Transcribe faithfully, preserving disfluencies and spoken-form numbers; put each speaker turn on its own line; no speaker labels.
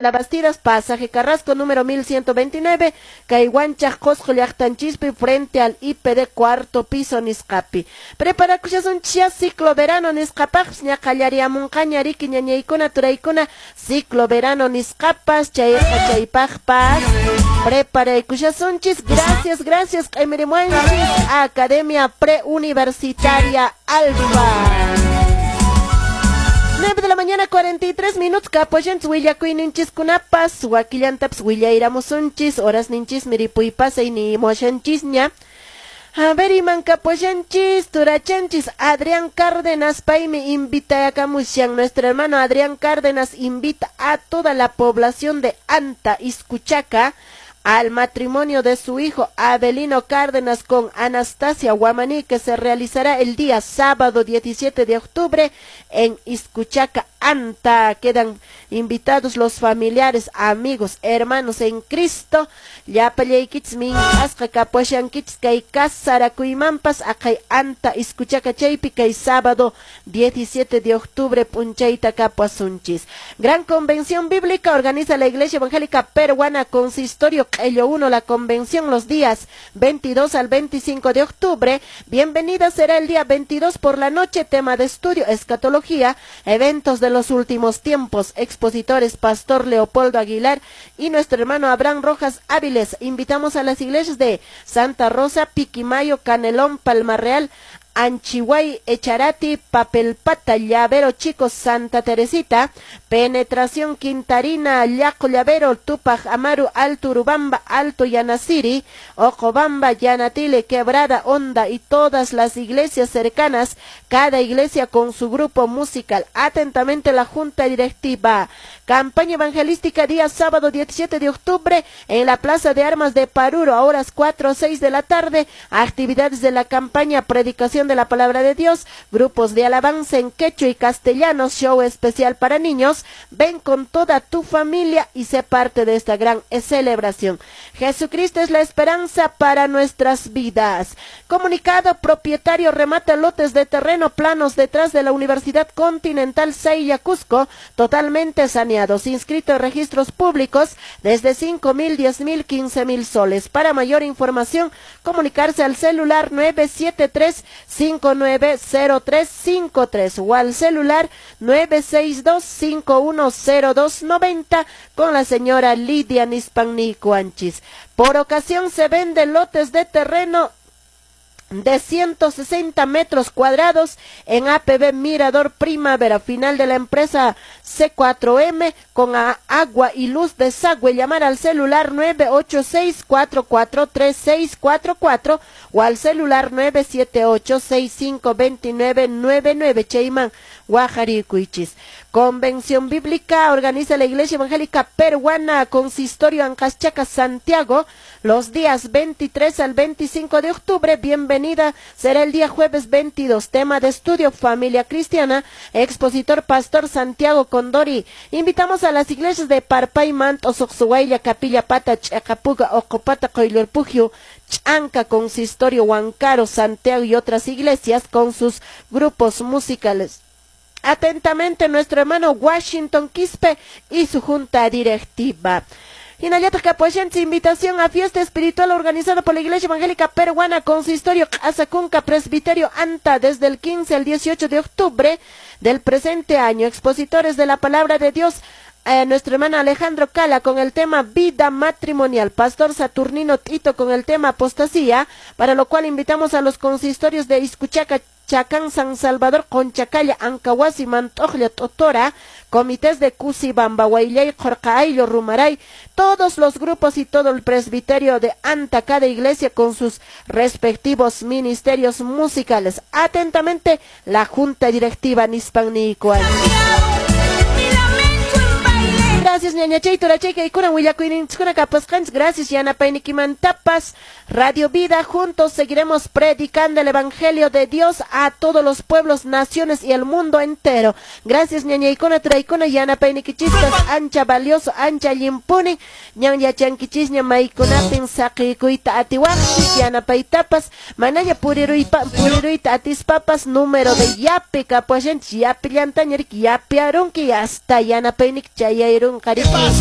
La Bastidas, pasaje Carrasco, número mil ciento veintinueve, kay Huanchaj Qosqo llaqtanchispi, frente al I P D cuarto piso nisqapi. Preparakushasunchis ciclo verano nisqapaqpas, ña qallariamunqaña riki ñañaykuna turaykuna, ciclo verano nisqapas, chayqa chaypaqpas preparaykushasunchis. Gracias, gracias, q'imirimuanchis Academia Preuniversitaria Alfa. nueve de la mañana, cuarenta y tres minutos, kapoyanchis willakuyninchiskunapas, wakillantapas willayramusunchis, horas ninchis miripuypasay ni moshanchisña. A ver, iman kapoyanchis, turachanchis, Adrián Cárdenas, paymi invitayakamushan. Nuestro hermano Adrián Cárdenas invita a toda la población de Anta, Izcuchaca, al matrimonio de su hijo Abelino Cárdenas con Anastasia Guamaní, que se realizará el día sábado diecisiete de octubre en Izcuchaca, Anta. Quedan invitados los familiares, amigos, hermanos en Cristo. Llapallaykichis mink'asqa kapuashankichis kay kasarakuymanpas aqhay Anta Izcuchaca chaypi kay sábado diecisiete de octubre p'unchayta kapuasunchis. Gran Convención Bíblica organiza la Iglesia Evangélica Peruana Consistorio Q'ello uno la convención los días veintidós al veinticinco de octubre. Bienvenida será el día veintidós por la noche, tema de estudio, escatología, eventos de los últimos tiempos, expositores Pastor Leopoldo Aguilar y nuestro hermano Abraham Rojas Áviles. Invitamos a las iglesias de Santa Rosa, Piquimayo, Canelón, Palma Real, Anchihuay, Echarati, Papelpata, Llavero Chico, Santa Teresita, Penetración Quintarina, Llaco Llavero, Tupac Amaru, Alto Urubamba, Alto Yanasiri, Ocobamba, Yanatile, Quebrada Honda y todas las iglesias cercanas, cada iglesia con su grupo musical. Atentamente la Junta Directiva. Campaña evangelística día sábado diecisiete de octubre en la Plaza de Armas de Paruro a horas cuatro o seis de la tarde. Actividades de la campaña, predicación de la palabra de Dios, grupos de alabanza en quechua y castellano, show especial para niños. Ven con toda tu familia y sé parte de esta gran celebración. Jesucristo es la esperanza para nuestras vidas. Comunicado, propietario remata lotes de terreno planos detrás de la Universidad Continental Seiya Cusco, totalmente saneados, inscrito en registros públicos desde cinco mil, diez mil, quince mil soles. Para mayor información, comunicarse al celular nueve siete tres, cinco nueve cero tres cinco tres o al celular nueve seis dos, cinco uno cero dos noventa con la señora Lidia Nispannicuanchis. Por ocasión se venden lotes de terreno de ciento sesenta metros cuadrados en A P B Mirador Primavera, final de la empresa C cuatro M, con agua y luz desagüe. Llamar al celular nueve ocho seis, cuatro cuatro tres, seis cuatro cuatro o al celular nueve siete ocho, seis cinco dos nueve nueve nueve. Cheyman Guajarikuichis. Convención Bíblica organiza la Iglesia Evangélica Peruana Consistorio Ancaschaca Santiago los días veintitrés al veinticinco de octubre. Bienvenida será el día jueves veintidós. Tema de estudio, familia cristiana. Expositor Pastor Santiago Condori. Invitamos a las iglesias de Parpay, Manto, Soxuayla, Capilla Pata, Chacapuga, Ocopata, Coilorpujio, Chanca, Consistorio Huancaro, Santiago y otras iglesias con sus grupos musicales. Atentamente, nuestro hermano Washington Quispe y su junta directiva. Hinallataq kapuashanchis invitación a fiesta espiritual organizada por la Iglesia Evangélica Peruana Consistorio Azacunca Presbiterio Anta desde el quince al dieciocho de octubre del presente año. Expositores de la Palabra de Dios, eh, nuestro hermano Alejandro Cala con el tema vida matrimonial, Pastor Saturnino Tito con el tema apostasía, para lo cual invitamos a los consistorios de Izcuchaca, Chacán, San Salvador, Conchacalla, Ancahuasi, Mantojlla, Totora, comités de Cusibamba, Huayllay, Jorcaaylo, Rumaray, todos los grupos y todo el presbiterio de Anta, cada iglesia con sus respectivos ministerios musicales. Atentamente, la Junta Directiva Nispannicual. Gracias, ñaña chay, turachay, kaykuna, willakuyninchiskuna kapasqanchis. Gracias, yanapaynikimantapas. Radio Vida, juntos seguiremos predicando el Evangelio de Dios a todos los pueblos, naciones y el mundo entero. Gracias, ñañaykuna, turaykuna, yanapaynikichispas, ancha valioso, ancha llimpuni, ñan yachankichis, ña maykunapin saqikuyta atiwaqchis, yanapaytapas, manaña puriruypa, puriruyta atispapas, número de yape kapuashanchis, yapillantaña riki, yapiarunki, hasta yanapaynik chayayrun. Riki?